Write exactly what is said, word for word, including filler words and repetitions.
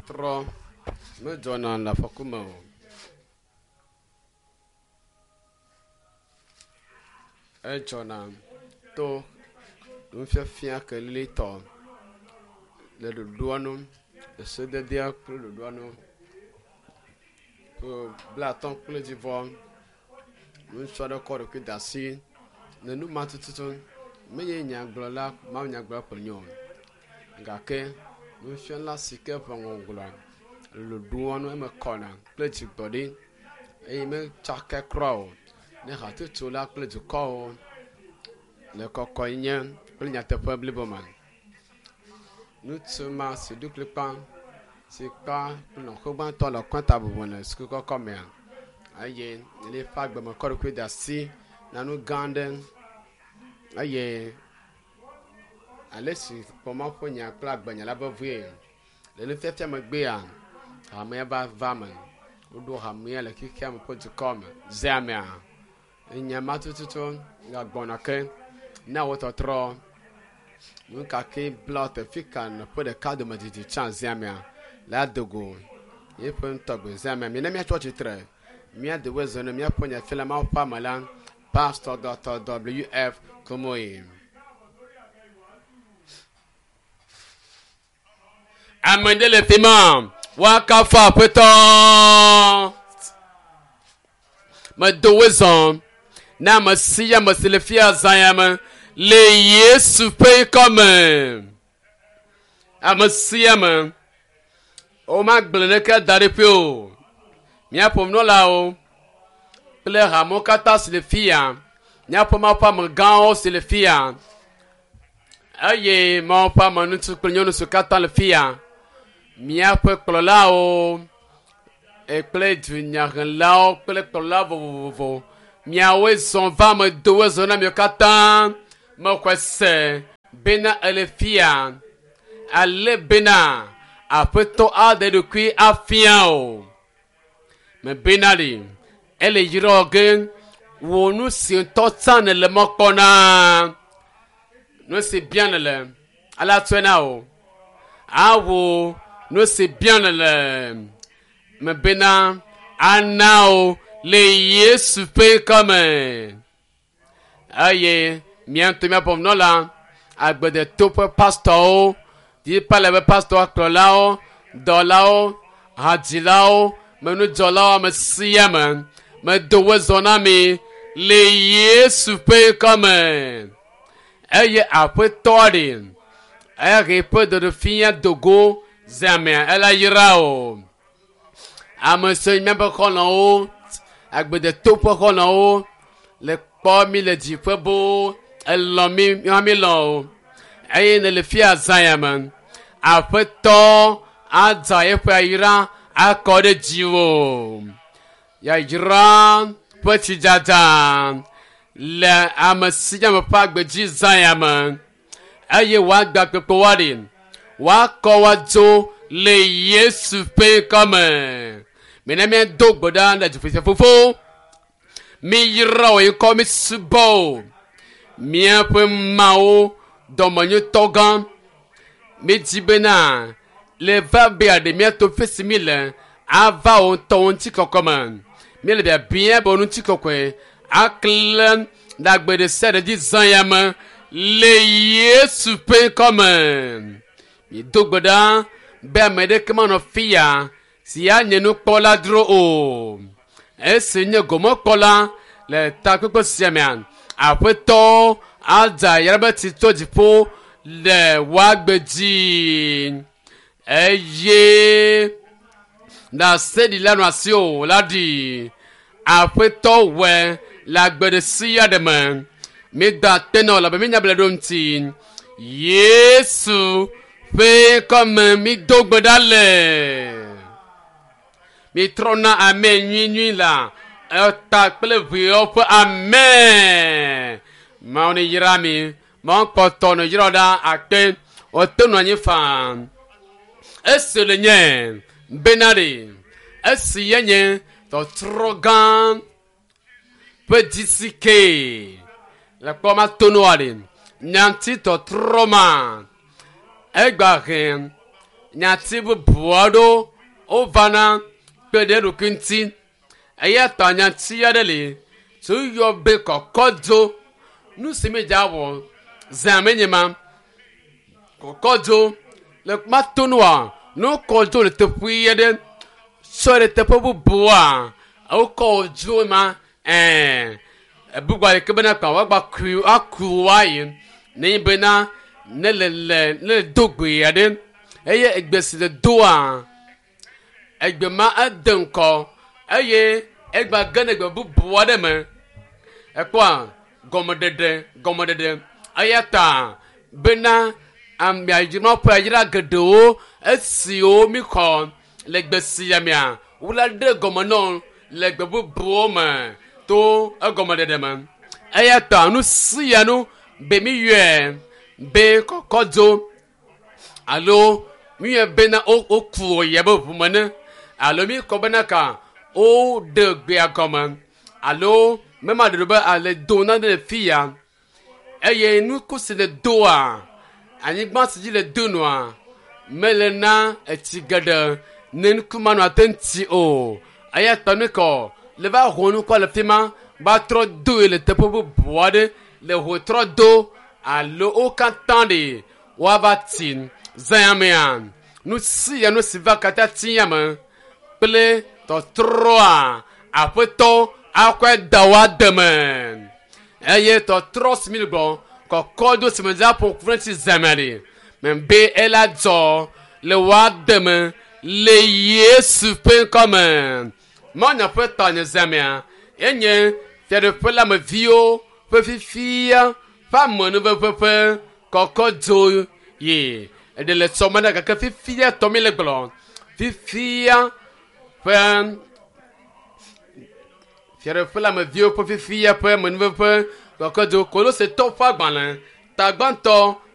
Tɔtrɔ medzɔna le afɔku me o. Edzɔna to nufiafia kelilitɔ le ɖoɖoa nu, le sededea kple ɖoɖoa nu. Ƒe blaatɔ̃ kple dzivɔ. Ŋutsu aɖe kɔ ɖokui de asi le nu ma tututu. Menye nyagblɔla mawunyagblɔla ko wònye o gake nufiala si ke ƒe ŋɔŋlɔ le ɖoɖoa nu eme kɔna kple dzigbɔɖi eye metsaka kura o ne hatsotso la kple dukɔwo le kɔkɔenye kple nyateƒe blibo me. Ŋutsu ma si ɖo kplikpa si kpa kple nɔƒe gbãtɔ le kɔnta bubu le suku kɔkɔ mea eye le eƒe agbe me kɔ ɖokui de asi na nu gã aɖe eye ale si kpɔ Mawu ƒe nya kple agbenya la vevie le nufiafia megbea hamea va va me. Woɖo hamea le xexea me ƒe dukɔ me zea mea. Enya ma tututu gagbɔna ke na wo tɔtrɔ. Nu ka ke bla teƒe ka nɔƒe ɖeka dome didi tsã zea mea la do go yeƒe ŋutɔgbe zea mea. Mina míatsɔ tsitre míado wo zɔ ne míaƒe nyafiala Mawu ƒe ame la Pastor Dr. W F Kumuyi. Ame ɖe le fi ma woakafu aƒetɔ. Medo wo zɔ na ame sia ame si le fia zã ya me le Yesu ƒe ŋkɔme. Ame sia ame womagblẽ ɖeke da ɖi ƒe o. Míaƒe nunɔlawo kple hamewo katã si le fia, míaƒe Mawu ƒe amegãwo si le fia eye Mawu ƒe ame ŋutsu kple nyɔnu siwo katã le fia, míaƒe kplɔlawo kple dunyahelawo kple kplɔla vovovovo miawoe zɔ va ame dowoe zɔ na miawo katã mexɔe se bena ele fia ale bena aƒetɔ aɖe ɖokui afia o. Mebena ɖi ele yrɔ ge wò nu si ŋutɔ tsã nèle mɔ kpɔ na nu si bia nèle ala tsɔe na o awo nu si bia nèle mebena ana o le Yesu ƒe ŋkɔme eye mía ŋutɔ míaƒe nunɔla agbedeto ƒe pastɔwo dzipa le ƒe pastɔ kplɔlawo dɔlawo hadzilawo menudzɔlawo ame sia ame medo wo zɔ na mi le Yesu ƒe ŋkɔme eye aƒetɔ ɖe ehe ƒe ɖoɖofia dogo zeamea ela yra o. Ame siwo míaƒe xɔlɔ̃wo agbedeto ƒe xɔlɔ̃wo le kpɔ mi le dziƒe boo elɔ̃ mi míawo mi lɔ̃ o eye ne le fia zã ya me aƒetɔ adza eƒe ayra akɔ ɖe dziwò. Yayra ƒe tsidzadza le ame sia ame ƒe agbe dzi zã ya me eye woagba kpekpe woaɖi woakɔ woadzo le Yesu ƒe ŋkɔme. Mina míado gbe ɖa le dziƒo fofo. Miyra wò ŋkɔ mi subɔ o. Míaƒe Mawu dɔmenyotɔ gã. Mídi bena le va be aɖe míato fi si mi le ava wò ŋutɔ wò ŋutikɔkɔ me. Míele biabia be wò ŋutikɔkɔe aklẽ le agbe ɖe sia ɖe dzi zã ya me le Yesu ƒe ŋkɔme. Mído gbe ɖa be ame ɖeke manɔ fia si anye nukpɔla dzro o. Esi nye gomekpɔla le takpekpe sia mea, aƒetɔ adza yayra be tsi tso dziƒo le woagbe dzi eye ɖaseɖila nɔ asi o la ɖi aƒetɔ wɔe le agbe ɖe sia ɖe me. Míeda akpe na wò elabe míenya be le ɖo ŋuti. Yesu ƒe ŋkɔme mído gbe ɖa le. Mitrɔna ame nyuinyui la eta kple ʋeawo ƒe ame. Mawu ne yra mi. Mawu kpɔtɔ ne yra ɖa akpe. Wote nɔ anyi faa. Esi le nye bena ɖe esi ye nye tɔtrɔ gã ƒe dzisi ke le kpɔ ma to noa ɖe nyanti tɔtrɔ ma egba he Nyati bubu aɖewo wovana kpe ɖe eɖokui ŋuti. Eya ta nyati aɖe li si woyɔ be kɔkɔdzo. Nu si mi dza wɔ zã menye ma. Kɔkɔdzo le matonua ne wokɔ dzo le teƒe aɖe tsɔ ɖe teƒe bubua wokɔ dzo ma ɛɛ ebugba yi ke bena kpa woagba kui aku woayi nenye bena ne le le ne le do gbe aɖe eye egbe si le doa egbe ma ede ŋkɔ eye egba ge ɖe gbe bubu aɖe me ekpɔa gɔmeɖeɖe gɔmeɖeɖe eya ta bena amea ƒe ayra geɖewo esiwo mi xɔ le gbe sia mea wole ɖe gɔme nɔ le gbe bubuwo me to egɔmeɖeɖe me eya ta nu sia nu be mi yɔe be kɔkɔdzo alo mi yɔe bena woku yia be ʋume ne alo mi kɔ bena ka woɖe gbea gɔme alo mema ɖe be ale do nane le fi ya eye nuku si le doa anyigba si dzi le do nua mele na etsi geɖe ne nuku ma nɔ ate ŋuti o eya ta nu kɔ le va ho nukua le fi ma va trɔ doe le teƒe bubu aɖe le ho trɔ do alo wo katã ɖe woava ti zã mea nu sia nu si va katã ti me kple tɔtrɔa aƒetɔ akɔe da woa deme eye tɔtrɔ si mi gbɔ kɔkɔ do si me dza ƒo ƒu ti zãme ɖe mɛ be ela dzɔ le woa deme le Yesu ƒe ŋkɔme mɔnya ƒe ta nye zãmea enye fiaɖuƒe la me viwo ƒe fifia ƒe amenuveƒe ƒe kɔkɔ dzo yi eɖe le tsɔme ɖe gake fifia tɔ mi le gblɔ fifia ƒe fiaɖuƒe la me viwo ƒe fifia ƒe amenuveƒe kɔkɔ dzo kolosetɔwo ƒe agbalẽ tagbãtɔ